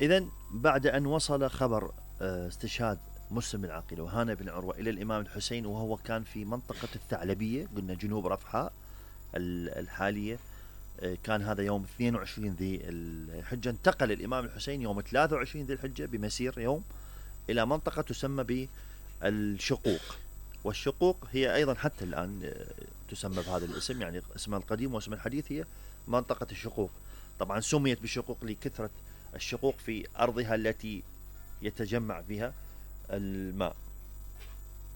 إذا بعد أن وصل خبر استشهاد مسلم بن عقيل وهانئ بن عروة إلى الإمام الحسين، وهو كان في منطقة الثعلبية، قلنا جنوب رفحاء الحالية، كان هذا يوم 22 ذي الحجة. انتقل الإمام الحسين يوم 23 ذي الحجة بمسير يوم إلى منطقة تسمى بالشقوق، والشقوق هي أيضا حتى الآن تسمى بهذا الاسم، يعني اسمها القديم واسم الحديث هي منطقة الشقوق. طبعا سميت بالشقوق لكثرة الشقوق في أرضها التي يتجمع بها الماء.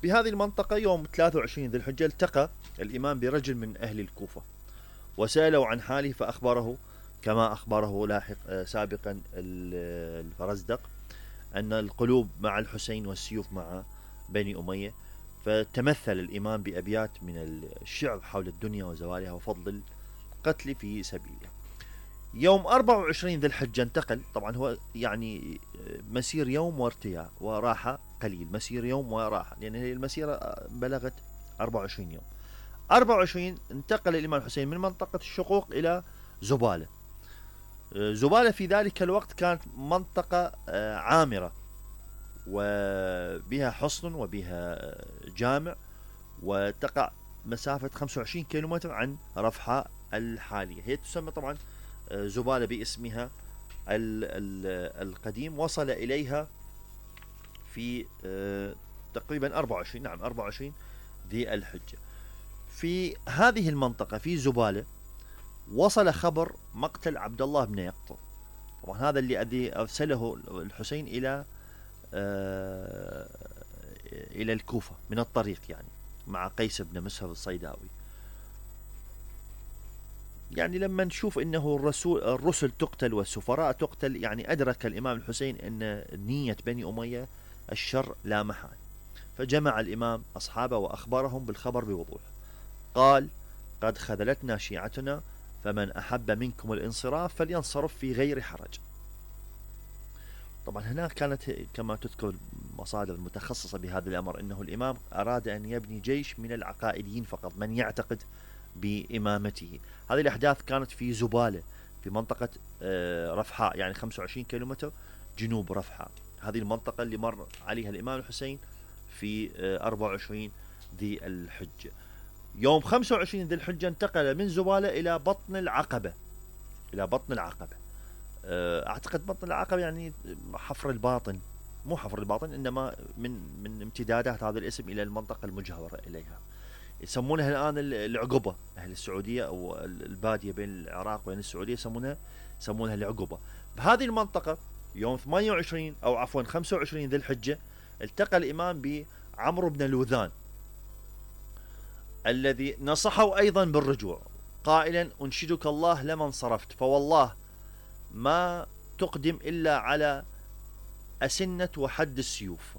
بهذه المنطقة يوم 23 ذي الحجة التقى الإمام برجل من أهل الكوفة وسأله عن حاله، فأخبره كما أخبره سابقا الفرزدق أن القلوب مع الحسين والسيوف مع بني أمية. فتمثل الإمام بأبيات من الشعر حول الدنيا وزوالها وفضل القتل في سبيله. يوم 24 ذي الحجة انتقل، طبعا هو يعني مسير يوم وارتياح وراحة قليل، مسير يوم وراحة، لأن هي المسيرة بلغت 24 يوم. 24 انتقل الإمام الحسين من منطقة الشقوق إلى زبالة. زبالة في ذلك الوقت كانت منطقة عامرة وبها حصن وبها جامع، وتقع مسافة 25 كيلومتر عن رفحاء الحالية. هي تسمى طبعا زبالة باسمها القديم. وصل إليها في تقريبا 24 ذي الحجة. في هذه المنطقة في زبالة وصل خبر مقتل عبد الله بن يقطر. طبعا هذا الذي أرسله الحسين إلى الكوفة من الطريق، يعني مع قيس بن مسهر الصيداوي. يعني لما نشوف انه الرسل تقتل والسفراء تقتل، يعني ادرك الامام الحسين ان نية بني امية الشر لا محال، فجمع الامام اصحابه واخبرهم بالخبر بوضوح. قال: قد خذلتنا شيعتنا، فمن احب منكم الانصراف فلينصرف في غير حرج. طبعا هنا كانت كما تذكر المصادر المتخصصة بهذا الامر انه الامام اراد ان يبني جيش من العقائديين فقط، من يعتقد بإمامته. هذه الأحداث كانت في زبالة في منطقة رفحاء، يعني 25 كيلومتر جنوب رفحاء، هذه المنطقة اللي مر عليها الإمام الحسين في 24 ذي الحجة. يوم 25 ذي الحجة انتقل من زبالة إلى بطن العقبة. أعتقد بطن العقبة يعني حفر الباطن، مو حفر الباطن، إنما من امتدادات هذا الاسم إلى المنطقة المجاورة إليها. يسمونها الآن العقبة، أهل السعودية أو البادية بين العراق وبين السعودية يسمونها العقبة. بهذه المنطقة يوم 28 أو عفوا 25 ذي الحجة التقى الإمام بعمرو بن لوذان الذي نصحه أيضا بالرجوع، قائلا: أنشدك الله لمن صرفت، فوالله ما تقدم إلا على أسنة وحد السيوف.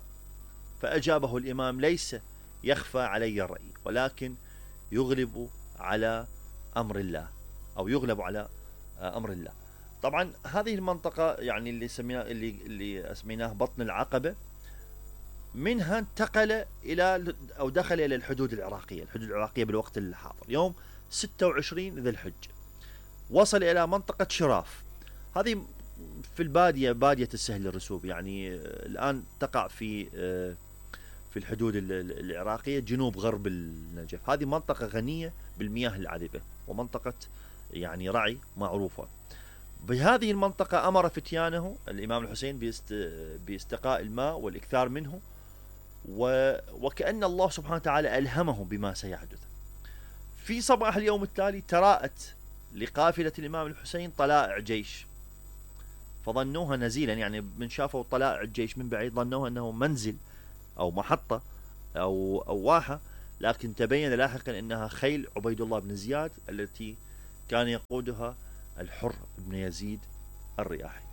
فأجابه الإمام: ليس يخفى علي الرأي، ولكن يغلب على أمر الله، أو يغلب على أمر الله. طبعا هذه المنطقة يعني اللي اسميناه بطن العقبة، منها انتقل إلى أو دخل إلى الحدود العراقية بالوقت الحاضر. يوم 26 ذي الحجة وصل إلى منطقة شراف، هذه في البادية، بادية السهل الرسوب، يعني الآن تقع في الحدود العراقية جنوب غرب النجف. هذه منطقة غنية بالمياه العذبة ومنطقة يعني رعي معروفة. بهذه المنطقة أمر فتيانه الإمام الحسين باستقاء الماء والإكثار منه، وكأن الله سبحانه وتعالى ألهمه بما سيحدث. في صباح اليوم التالي تراءت لقافلة الإمام الحسين طلائع جيش، فظنوها نزيلا، يعني من شافوا طلائع الجيش من بعيد ظنوها أنه منزل أو محطة أو واحة، لكن تبين لاحقا أنها خيل عبيد الله بن زياد التي كان يقودها الحر بن يزيد الرياحي.